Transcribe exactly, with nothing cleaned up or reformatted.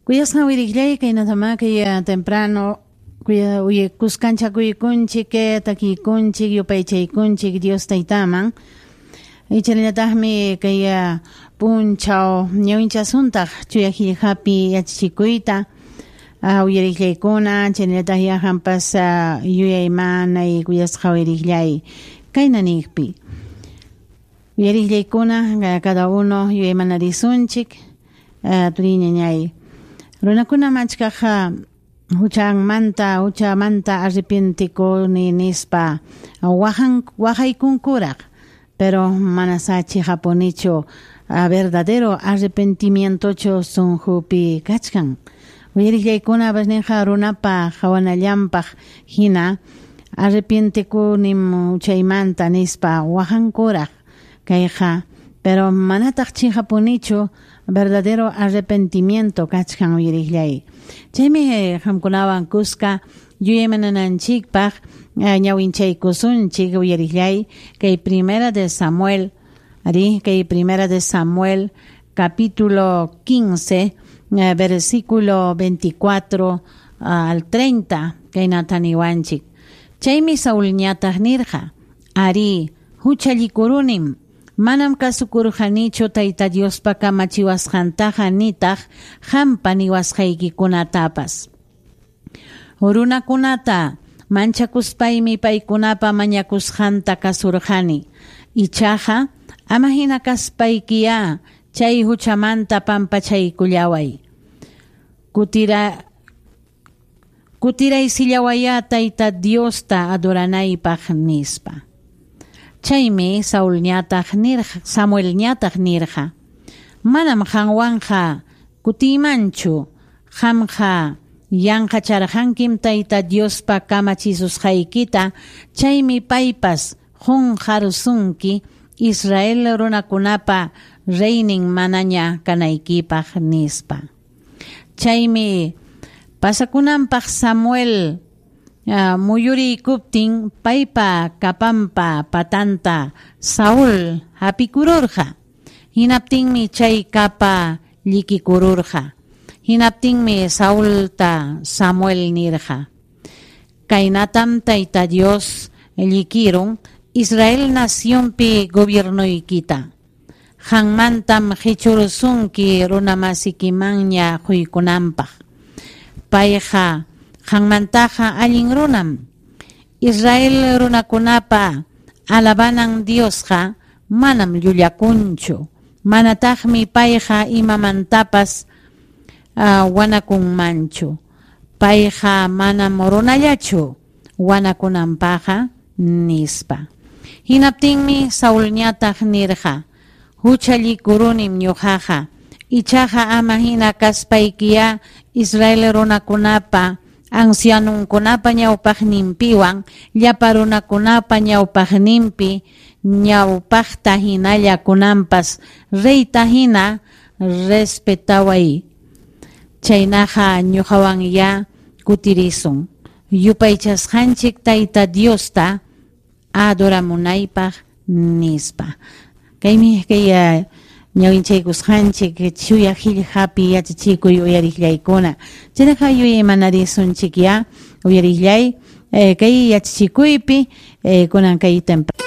Kuyasqa uyariqllay kaynatama kay temprano kuya uye kuskanchakuykunchik takiykunchik yupaychaykunchik Dios taytaman ichallataqmi kay punchaw ñawinchasuntaq chuya qillqapi yachachikuyta uyariqllaykuna chaynallataq yaqanpas yuyaymanay kuyasqa uyariqllay kayna niqpi uyariqllaykuna cada uno yuyaymanarisunchik turiñañay runakuna machkaq huchanmanta huchamanta arrepientikuni nispa wahan waqaykunkuraq pero mana sachi japonichu verdadero arrepentimientochu sunqupi kachkan uyariqllaykuna ninqa runapa qawanallanpaq hina arrepientikunim huchaymanta nispa waqankuraq kayqa pero manataq chiqapunichu verdadero arrepentimiento kachkan uyariqllay chaymi qamkunawan kuska yuyaymanananchikpaq ñawinchaykusunchik uyariqllay kay Primera de Samuel ari kay Primera de Samuel capítulo quince versículo veinticuatro al treinta kaynata niwanchik chaymi Saulñataq nirqa ari huchallikurunim manam kasukurqanichu Tayta Diospa kamachiwasqantaqa nitaq qampa niwasqaykikunatapas runakunata manchakuspaymi paykunapa mañakusqanta kasurqani ichaqa ama hina kaspaykiya chay huchamanta pampachaykullaway kutira kutiraysillawaya Tayta Diosta adoranaypaq nispa chaymi Saulñataq nirqa Samuelñataq nirqa manam qanwanqa kutiymanchu qamqa yanqacharqankim Tayta Diospa kamachisusqaykita chaymi paypas qunqarusunki Israel runakunapa reynin manaña kanaykipaq nispa chaymi pasakunanpaq Samuel Uh, muyuriykuptin paypa kapampa patanta Saúl hapikururqa hinaptinmi chay kapa llikikururqa hinaptinmi Saulta Samuel nirqa kaynatam Tayta Dios llikirun Israel nacionpi gobiernoykita qanmantam qichurusunki runamasikimanña quykunanpaq payqa qanmantaqa allin runam Israel runakunapa alabanan Diosqa manam llullakunchu manataqmi payqa imamantapas uh, wanakunmanchu payqa manam runallachu wanakunanpaqqa nispa hinaptinmi Saulñataq nirqa huchallikurunim ñuqaqa ichaqa ama hina kaspaykiya Israel runakunapa ancianunkunapa ñawpaqninpiwan llapa runakunapa ñawpaqninpi ñawpaqta hinalla kunanpas reyta hina respetaway chaynaqa ñuqawanya kutirisun yupaychasqanchik Tayta Diosta adoramunaypaq nispa kaymi kay ñawinchaykusqanchik chuya qillqapi yachachikuy uyariqllaykuna chaynaqa yuyaymanarisunchik ya uyariqllay kay yachachikuypi kunan kay temprano.